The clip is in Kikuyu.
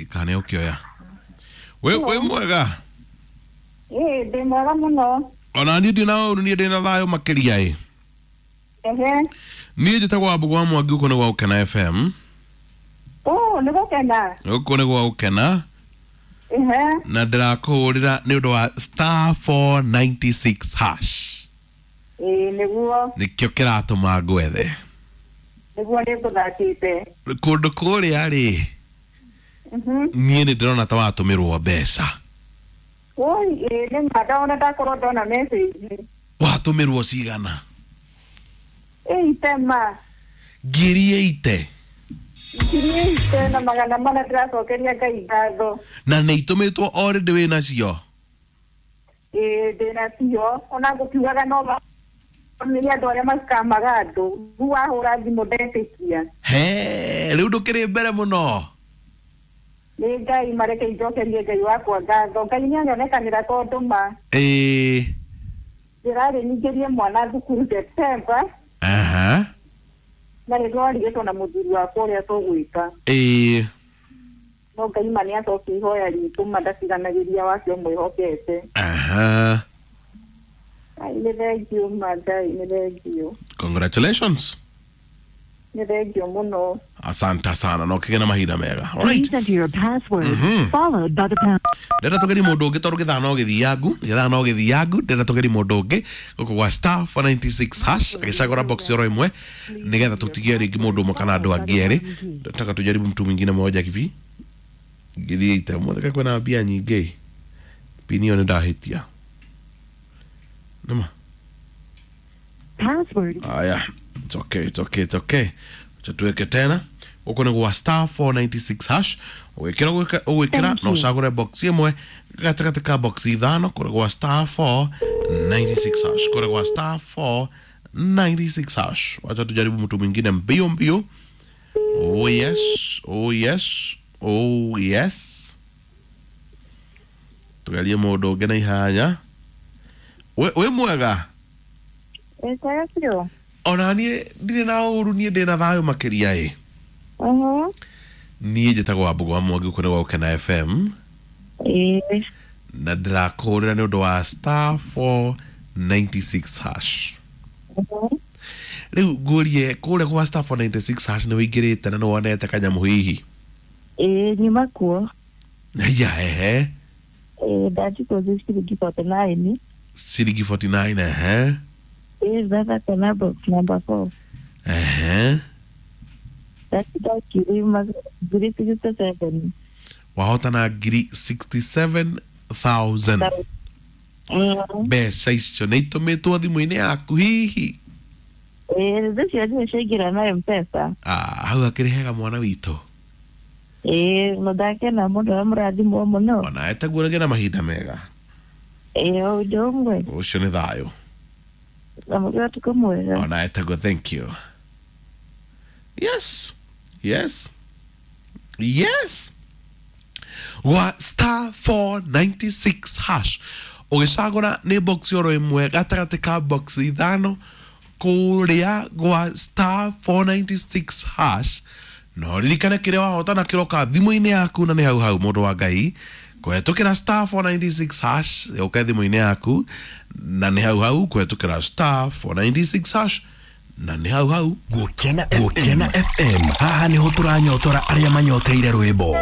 Kana ũkĩoya. Wĩ mwega? Ĩĩ, ndĩ mwega mũno. Ona niĩ ndĩ na ũru, niĩ ndĩ na thayũ makĩria ĩ. Ehe. Niĩ njĩtagwo Wambũgũ wa Mwangi, gũkũ nĩ gwa Gũkena FM. Ũũ, nĩ gũkena. Gũkũ nĩ gwa Gũkena. Ehe. Na ndĩrakũhũrĩra nĩ ũndũ wa star 496 hash. Ĩĩ, nĩguo. Nĩkĩo kĩratũma ngwethe. Nĩguo nĩngũthakĩte. Kũndũ kũrĩa rĩ, niĩ nĩ ndĩrona ta watũmĩrwo mbeca. Oi, ĩĩ, nĩ ma ndona ndakorwo ndona message. Watũmĩrwo cigana? Ĩ, itema. 8,000. 8,400 ndĩracokeria Ngai ngatho. Na nĩ itũmĩtwo already wĩ nacio? Ĩĩ, ndĩ nacio. Ona ngũkiugaga no nĩ andũ arĩa macikamaga andũ. Rĩu wahũra thimũ ndetĩkia. He, rĩu ndũkĩrĩ mbere mũno. Nĩ Ngai mareke injokerie Ngai wakwa ngatho. Ngai nĩ anyonekanĩra tondũ ma. Ĩĩ. Ndĩrarĩ nyingĩrie mwana thukuru September. Aha. Na nĩ twarigĩtwo na mũthuri wakwa ũrĩa tũgwĩka. Ĩĩ. No Ngai ma nĩ acokia ihoya ritũ ma ndatiganagĩria wake ũmwĩhokete. Aha. Ai, nĩ thengiũ ma Ngai, nĩ thengiũ. Congratulations. Nĩ thengiũ mũno. Asante sana na ũkĩgĩa na mahinda mega. Alright. Please enter your password followed by the pound. Ndĩrenda tũgerie mũndũ ũngĩ tondũ gĩthaa no gĩthiangu, gĩthaa no gĩthiangu. Ndĩrenda tũgerie mũndũ ũngĩ gũkũ gwa star 496 hash agĩcagũra box oro ĩmwe nĩgetha tũtigie rĩngĩ mũndũ ũmwe kana andũ angĩ erĩ. Nataka tujaribu mtu mwingine mmoja hivi. 8,000 mũtheka kwĩna mbia nyingĩ. Pini ĩyo nĩ ndahĩtia. Nĩma. Password. Aya, it's okay, it's okay, it's okay. Acha tuweke tena gũkũ nĩ gwa star 496 hash. Ũgwĩkĩra ũgwĩkĩra na ũcagũre box ĩmwe gatagatĩ ka box ithano kũrĩ gwa star 496 hash, kũrĩ gwa star 496 hash. Wacha tujaribu mtu mwingine mbio mbio. Oh yes, oh yes, oh yes. Tugerie mũndũ ũngĩ na ihanya. Wĩ mwega? Ĩĩ, biũ. Ona niĩ ndirĩ na ũru, niĩ ndĩ na thayũ makĩria ĩ. Niĩ njĩtagwo Wambũgũ wa Mwangi, gũkũ nĩ gwa Gũkena FM. Ĩĩ. Na ndĩrakũhũrĩra nĩ ũndũ wa star 496 hash. Rĩu ngũrie kũrĩa gwa star 496 hash nĩ wĩingĩrĩte na nĩ wonete kanyamũ hihi? Ĩĩ, nyuma kuo. Aya, ehe. Ĩĩ, ndachukua ciringi 49. Ciringi 49, ehe. Ĩĩ, ndathaka na box number 4. Ehe. Ndacinda 67,000. Wahotana 67,000. Mbeca icio nĩ itũmĩtwo thimũ-inĩ yaku hihi? Ĩĩ, icio nĩcio ciaingĩra na M-Pesa. Ah, hau hakĩrĩ hega mwana witũ. Ĩĩ, mũndakena mũno na mũrathimwo mũno. Ona etaguo rĩngĩ na mahinda mega. Ĩĩ, o ũndũ ũmwe. Ũcio nĩ thayũ. Na mũgĩe ũtukũ mwega. Ona etaguo, thank you. Yes, yes, yes. Gwa star 496 hash ũgĩcagũra nĩ box oro ĩmwe gatagatĩ ka box ithano kũrĩa gwa star 496 hash. No ririkane kĩrĩa wahotana kĩroka thimũ-inĩ yaku na nĩ hau hau mũndũ wa Ngai kũhetũkĩra star 496 hash yũke thimũ-inĩ yaku na nĩ hau hau kũhetũkĩra star 496 hash na nĩ hau hau. Gũkena FM. Gũkena FM. Haha nĩho tũranyotora arĩa manyoteire rwĩmbo.